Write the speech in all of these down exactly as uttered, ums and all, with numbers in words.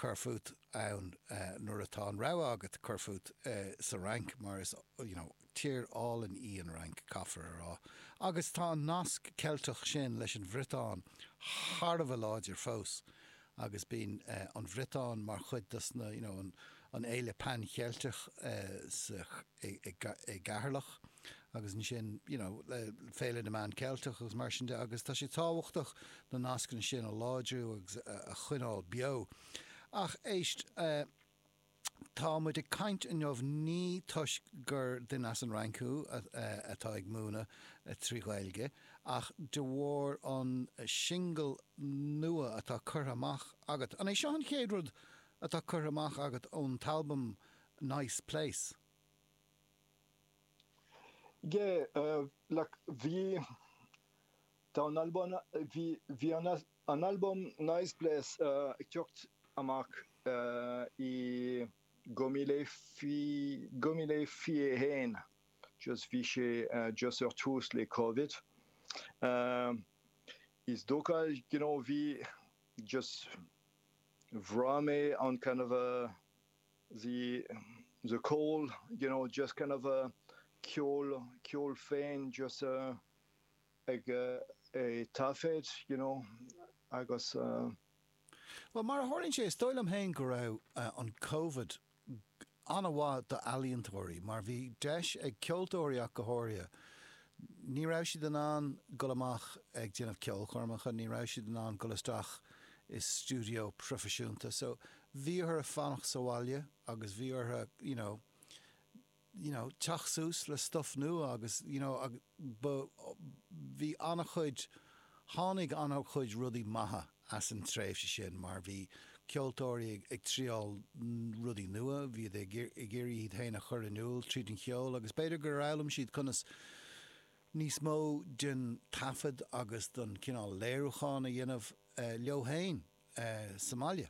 cur fút ann nuair atá an rogha agat cur fút sa Fhrainc mar is you know tír álainn í an Fhrainc, caithfear a rá. Agus tá an nasc Ceilteach sin leis an Bhriotáin thar a bheith láidir fós agus bíonn an Bhriotáin mar chuid dos na you know an an fhéile Pan-Cheilteach sa i gCeatharlach agus ansin you know Féile na Meán Ceilteach agus mar sin de agus tá sé tábhachtach na nascanna sin a láidriú agus a choinneáil beo. Ach éist, tá muid ag caint inniu ní toisc gur duine as an Fhrainc thú atá ag múineadh trí Ghaeilge ach de bharr an singil nua atá curtha amach agat. An é seo an chéad rud atá curtha amach agat ón t-albam Nice Place? Yeah, like bhí, tá an albam, bhí, bhí an an albam Nice Place ag teacht amach i dhá mhíle dhá mhíle fiche a haon, just bhí sé just ar tús le Covid. Is dócha, you know, bhí just bhraith mé an kind of a the the call, you know, just kind of a ceol, ceol féin just ag taifead, you know, agus. Bhuel, mar a tharlaíonn sé, is dóigh liom féin go raibh an Covid an-mhaith d'ealaíontóirí mar bhí deis ag ceoltóirí ach go háirithe, ní raibh siad in ann dul amach ag déanamh ceolchoirmeacha, ní raibh siad in ann dul isteach i stiúideo proifisiúnta so bhí orthu fanacht sa bhaile agus bhí orthu you know, you know teacht suas le stuff nua agus you know ba bhí an-chuid tháinig an-chuid rudaí maithe as an tréimhse sin mar bhí ceoltóirí ag ag triáil rudaí nua, bhí siad ag ag iarraidh iad féin a chur in iúl tríd an cheol agus b'fhéidir gur fhoghlaim siad conas níos mó den taifead agus den cineál léiriúchán a dhéanamh leo féin sa mbaile.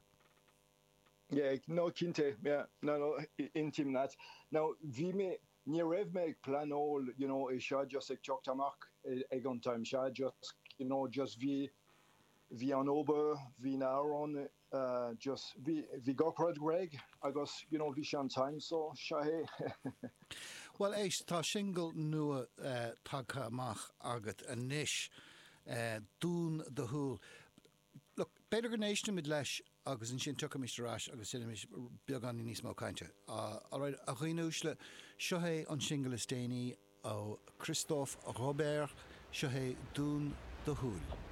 Yeah, no, cinnte, yeah, no, no, aontaím leat. Now, bhí mé, ní raibh mé ag pleanáil, you know, é seo just ag teacht amach ag an time seo, just, you know, just bhí, bhí an obair, bhí na hamhráin, just, bhí, bhí gach rud réidh agus, you know, bhí sé an time so, seo é. Bhuel, éist, tá singil nua tagtha amach agat anois, Dún do Shúil. Look, b'fhéidir go n-éistfimid leis agus ansin tiocfaimis ar ais agus déanfaimis beagáinín níos mó cainte. Alright, a dhaoine uaisle, seo é an singil is déanaí ó Christophe Robert, seo é Dún do Shúil.